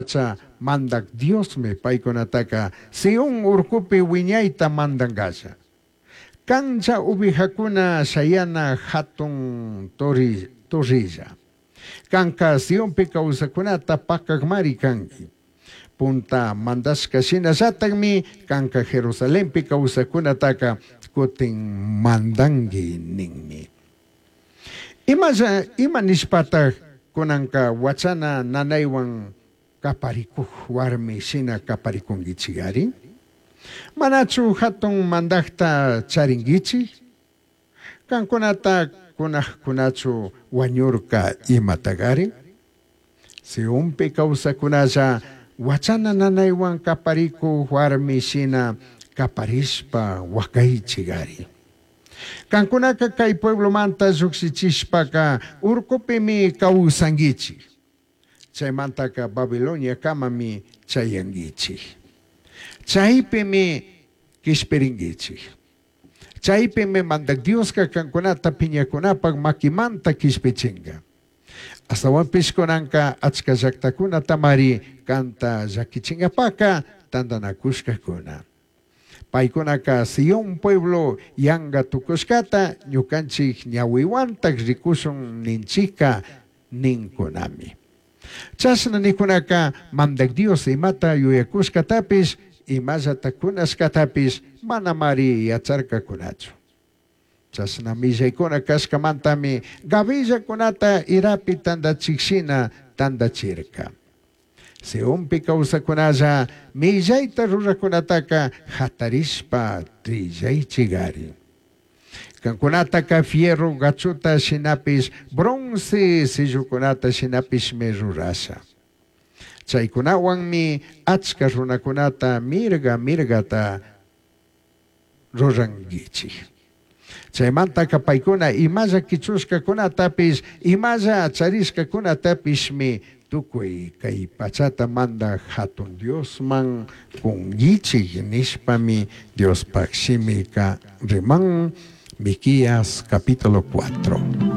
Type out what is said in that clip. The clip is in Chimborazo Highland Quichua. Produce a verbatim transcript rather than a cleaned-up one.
pacha Mandaj Diosmi paicunataca Sión urcupi huiñaita mandangalla. Canlla ovejacuna shayana jatun torrella. Canca Sionpi causajcunata pacajmari cangui. Punta mandashca shinallatajmi canca Jerusalenpi causajcunataca cutin mandangui ninmi. Imalla ima nishpataj cunanca huachana nanaihuan caparicuj huarmi shina caparicunguichigari? Manachu jatun mandajta charinguichij? Cancunata cunajcunachu huañurca imatagari? Sionpi causajcunalla huachana nanaihuan caparicuj huarmi shina caparishpa huacaichigari. Cancunaca cai pueblomanta llujshichishpaca urcupimi causanguichij. Chaimantaca Babiloniacamami chayanguichij. Chaipimi quishpiringuichij. Chaipimi Mandaj Diosca cancunata piñacunapaj maquimanta quishpichinga. Ashtahuanpish cunanca achca llajtacunatamari canta llaquichingapaca tandanacushcacuna. Paicunaca Sión pueblo yanga tucushcata ñucanchij ñahuihuantaj ricushun ninchijca nincunami. Chashna nicunaca Mandaj Dios imata yuyacushcatapish imallata cunashcatapish manamari yacharcacunachu. Chashna millaicuna cashcamantami gavillacunata irapi tandachij shina tandachirca. Sionpi causajcunalla millaita rurajcunataca jatarishpa trillaichigari. Cancunataca fierro gachuta shinapish bronce sillucunata shinapishmi rurasha. Chaicunahuanmi achca runacunata mirga mirgata ruranguichij. Chaimantaca paicuna imalla quichushcacunatapish imalla charishcacunatapishmi tucui cai pachata mandaj jatun Diosman cunguichij nishpami Diospaj shimica riman. Miqueas capítulo cuatro.